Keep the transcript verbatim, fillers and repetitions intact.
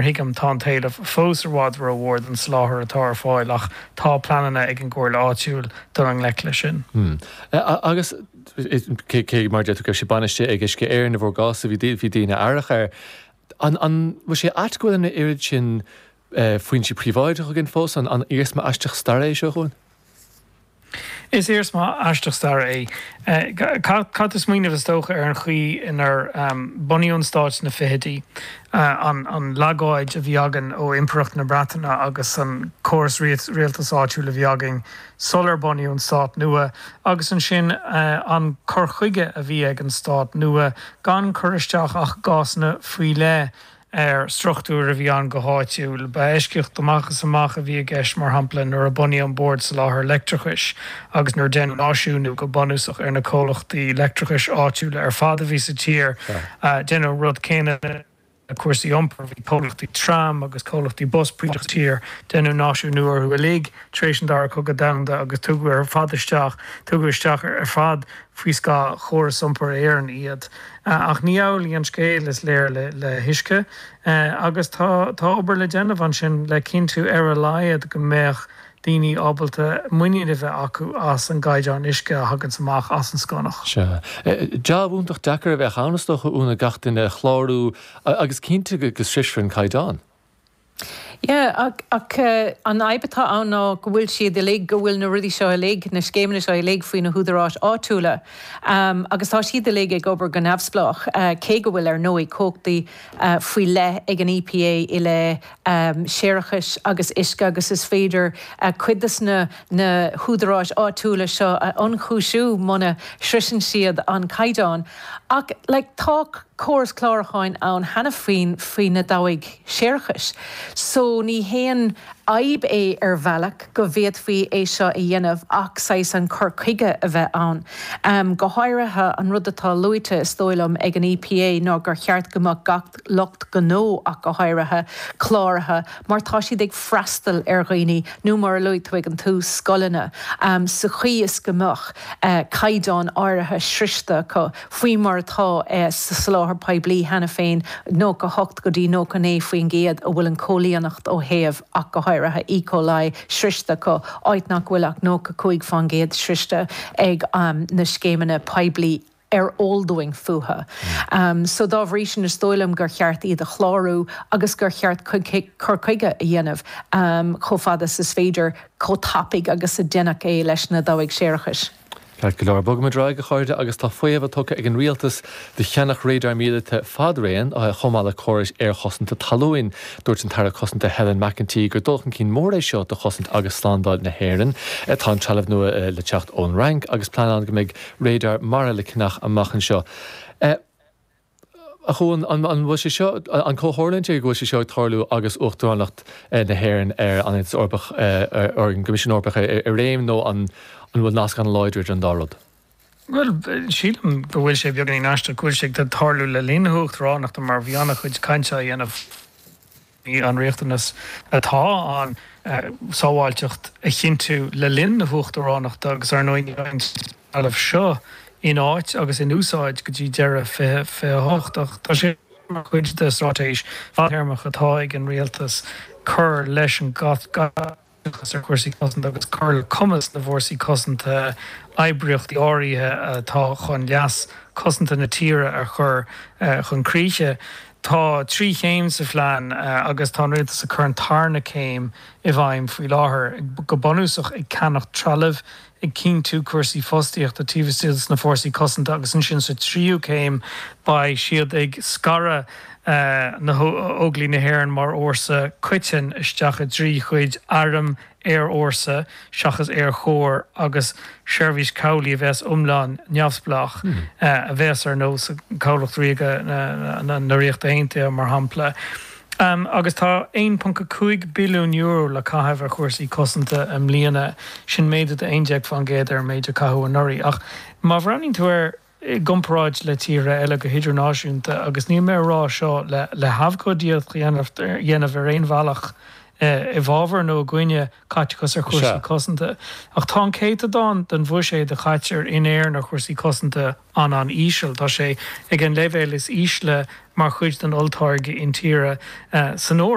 thuigim, tá an t-éileamh fós i bhfad rómhór don soláthar atá ar fáil, ach tá pleananna ag an gComhairle áitiúil dul i ngleic leis sin. Agus cé mar deir tú go raibh sé bainistithe ag Uisce Éireann i bhur gcás, bhí bhí daoine aireach air. An an bhfuil sé ait go bhfuil an oiread sin foinsí príobháideach againn fós? An an iarsma aisteach staire é seo chugainn? Is iarsma aisteach staire é. Caithfidh tú smaoineamh, is dócha, ar an chaoi inar bunaíodh an stát sna fichidí, an legáid a bhí againn ó Impireacht na Breataine agus an córas rialtais áitiúil a bhí againn sular bunaíodh an stát nua, agus ansin an cur chuige a bhí ag an stát nua gan cur isteach ach i gcásanna faoi leith ar struchtúir a bhí ann go háitiúil. Ba eisceacht amach is amach a bhí i gceist, mar shampla, nuair a bunaíodh an Bord Soláthair Leictreachais agus nuair a deineadh náisiúnú go bunúsach ar na comhlachtaí leictreachais áitiúla ar fad a bhí sa tír. Deineadh an rud céanna le cúrsaí iompair, bhí comhlachtaí tram agus comhlachtaí bus príobháideach sa tír, deineadh náisiúnú orthu uilig tar éis an Dara Cogadh Domhanda agus tugadh ar fad isteach, tugadh isteach ar fad faoi scáth Chóras Iompair Éireann iad. Ach ní amhlaidh an scéal, is léir, le huisce agus tá tá obair le déanamh ansin le cinntiú ar a laghad go mbeadh daoine ábalta muinín a bheith acu as an gcaighdeán uisce a thaganns amach as an sconach. Sea. Jab iontach deacair a bheadh ann, is dócha, Úna, gach duine a chlárú agus cinntiú go sroisfear an caighdeán. Yeah, ach, ach an fhadhb atá ann ná go bhfuil siad uilig, go bhfuil na rudaí seo uilig, na scéimeanna seo uilig faoi na húdaráis áitiúla. Um, agus tá siad uilig ag obair go neamhspleách, uh, cé go bhfuil ar ndóigh cumhachtaí uh, faoi leith ag an E P A i leith um, séarachais agus uisce agus is féidir uh, cuid de na, na húdaráis áitiúla seo a ionchúiseamh muna sroiseann siad an caighdeán. Ach like, tá córas clárúcháin ann cheana féin faoi na dabhaigh séarachais. So ní haon fhadhb é ar bhealach go bhféadfaí é seo a dhéanamh ach saghas an cur chuige a bheith ann. Um, go háirithe an rud atá luaite, is dóigh liom, ag an E P A ná gur cheart go mbeadh gach lucht gnó ach go háirithe cláraithe mar tá siad ag freastal ar dhaoine nó, mar a luaigh tú ag an tús, scoileanna um, sa chaoi is go mbeadh uh, caighdeán áirithe sroichte acu faoi mar atá uh, sa soláthar poiblí cheana féin, nócha hocht go dtí nócha naoi faoin gcéad a bhfuil an chomhlíontacht ó thaobh ach go háirithe E. coli sroichte acu, áit nach bhfuil ach nócha cúig faoin gcéad sroichte ag um, na scéimeanna poiblí ar eol dúinn fúthu. Um, so dá bhrí sin is dóigh liom gur cheart iad a chlárú agus gur cheart cur chuige a dhéanamh um, chomh fada is féidir, chomh tapaidh agus a deineadh é leis na dabhaigh séarachais. Ceart go leor, bogfaimid ar aghaidh, a chairde, agus tá faomhadh tugtha ag an rialtas do cheannach radar míleata fadraon chomh maith le córais aerchosanta talún. Dúirt an tAire Cosanta Helen McEntee gur dul chun cinn mór é seo do chosaint agus slándáil na hÉireann. Tá an trealamh nua le teacht ón Fhrainc agus plean ann go mbeidh radar mara le ceannach amach anseo. A Chuain, an bhfuil sé seo an comhtharlúint go bhfuil sé seo ag tarlú agus uachtaránacht na hÉireann ar an Aontas Eorpach, ar an gCoimisiún Eorpach, i réim nó an an bhfuil nasc an-láidir idir an dá rud? Well, sílim go bhfuil sé beagáinín aisteach go bhfuil sé ag tarlú le linn na huachtaránachta, mar bhí an-chuid cainte á dhéanamh an riachtanas atá an sábháilteacht a chinntiú le linn na huachtaránachta, agus ar ndóigh an trealamh seo in áit agus in úsáid go dtí deireadh fiche fiche a hocht. Ach tá sé mar chuid de straitéis fadtéarmach atá ag an rialtas cur leis an ar chúrsaí cosanta agus cur le cumas na bhfórsaí cosanta oibríochtaí áirithe atá chun leas cosanta na tíre a chur chun críche. Tá trí chéim sa phlean agus tá an rialtas ag cur an tarna céim i bhfeidhm faoi láthair, go bunúsach ag ceannach trealamh, ag cinntiú cúrsaí fostaíochta taobh istigh sna fórsaí cosanta, agus ansin sa tríú céim beidh siad ag scaradh na hÓglaigh na hÉireann mar fhórsa coiteann isteach i dtrí chuid: arm, aerfhórsa seachas aerchór, agus seirbhís cabhlaigh a bheas iomlán neamhspleách, a bheas ar nós Cabhlach Ríoga na Ríochta Aontaithe, mar shampla. Um, agus tá aon ponc cúig billiún euro le caitheamh ar chúrsaí cosanta i mbliana, sin méadú de aon déag faoin gcéad ar an méid a caitheadh anuraidh. Ach má bhreathnaíonn tú air i gcomparáid le tíortha eile go hidirnáisiúnta, agus níl mé ag rá seo le le habhcóidíocht dhéanamh ar aon bhealach. i bhfabhar nó i gcoinne caiteachas ar chúrsaí cosanta. Ach tá an céatadán den bhuiséad a chaitear in Éirinn ar chúrsaí cosanta an-an-íseal. Tá sé ag an leibhéal is ísle mar chuid den olltáirge intíre san Eoraip.